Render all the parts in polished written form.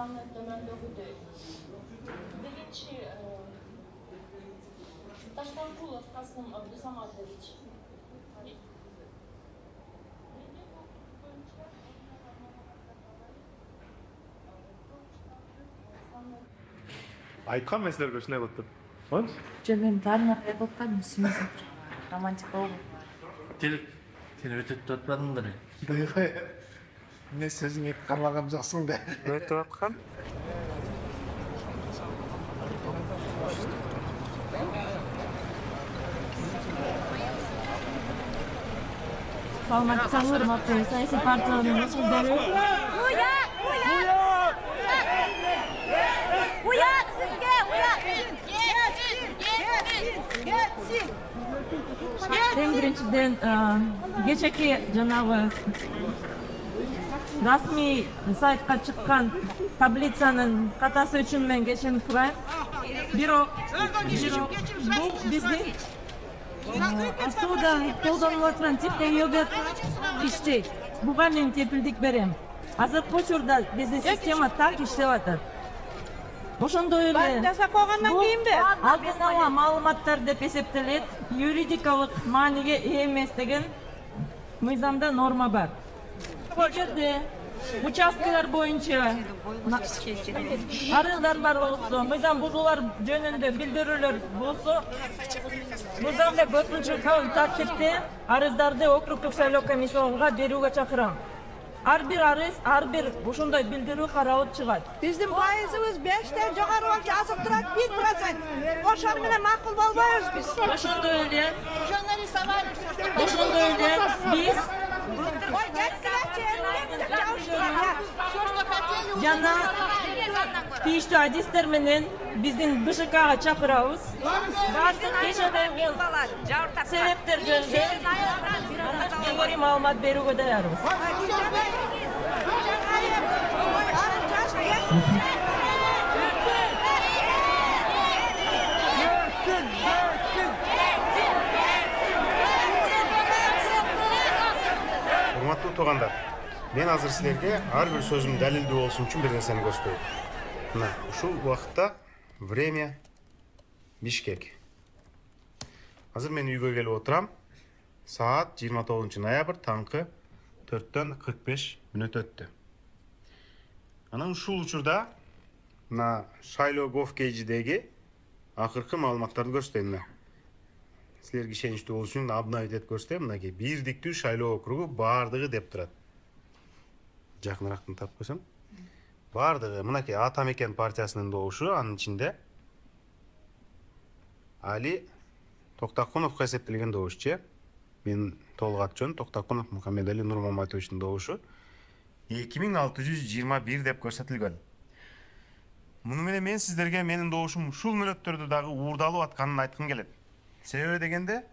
саны төмөндөгүдөй. Дегенчи Таштанкулов Касым Абдусаматович. Айткан мен силерге ушундай болуп туруп. Болчу? Жөн мен баарына кайрылткан үстүмүз романтик болду. Сен өтөп атпадыңдар. Мен сөзүңө кармаган жоксуң да. Өтүп аткан. Саламатсыңдар, урматтуу саясий партиялардын өкүлдөрү. Уят сизге, уят. Эң биринчиден кечээки жанагы расмий сайтка чыккан таблицанын катасы үчүн мен кечирим сурайм. Бирок бул биздин автоодо колдонулуп аткан типтеги өбөт иштейт. Буга мен кепилдик берем. Азыркы учурда биздин система так иштеп атат. Ошондой эле Жасап койгондон кийинби? алдын ала маалыматтар деп эсептелет, юридикалык мааниге ээ эмес деген мыйзамда норма бар. Эгерде участкалар боюнча арыздар бар болсо, мыйзам бузуулар жөнүндө билдирүүлөр болсо, мыйзамда 4 тартипте арыздарды округдук шайлоо комиссияга берүүгө чакырам. Ар бир арыз, ар бир ушундай билдирүү каралып чыгат. Биздин пайызыбыз 5тен жогору болчу, азыр турат 1%. Ошол менен макул болбойбуз биз. Ошондой эле биз жана тийиштүү адистер менен биздин БШКга чакырабыз. Баардык кечирилген себептер жөнүндө кеңири маалымат берүүгө даярбыз. Урматтуу туугандар, мен азыр силерге ар бир сөзүм далилдүү болсун үчүн бир нерсени көрсөтөйм. Мына ушул убакытта время Бишкек. Азыр мен үйгө келип отурам. Саат 29 ноябрь таңкы 4:45 өттү. Анан ушул учурда мына шайлоо gov.kg'dеги акыркы маалыматтарды көрсөтөйм. Силерге ишеничтүү болуш үчүн обновить этип көрсөтөйм. Мынакей бирдиктүү шайлоо округу баардыгы деп турат. Жакыныраак тап койсоң. Баардыгы мынакей Ата Мекен партиясынын добушу, анын ичинде Али Токтакуновго эсептелген добушчу. Мен толук аты жөнү Токтакунов Мухаммедали Нурмаматовичтин добушу 2621 деп көрсөтүлгөн. Муну менен мен сиздерге менин добушум ушул мөлөттөрдө дагы уурдалып атканын айткым келет. Себеби дегенде,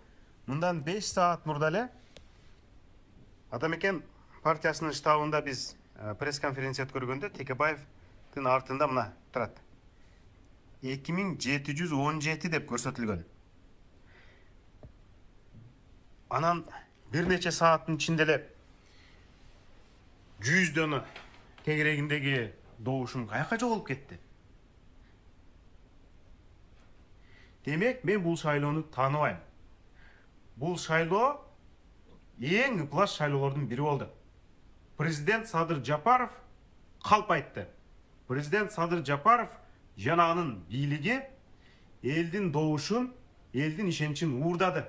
мындан 5 саат мурда эле Ата Мекен партиясынын штабында биз пресс-конференция өткөргөндө Текебаевдин артында мына турат. 2717 деп көрсөтүлгөн. Анан бир нече сааттын ичинде эле 100 дана тегерегиндеги добушум каяка жоголуп кетти. Демек, мен бул шайлоону тааныбайм. Бул шайлоо эң ыплас шайлоолордун бири болду. Президент Садыр Жапаров калп айтты. Президент Садыр Жапаров жана анын бийлиги элдин добушун, элдин ишеничин уурдады.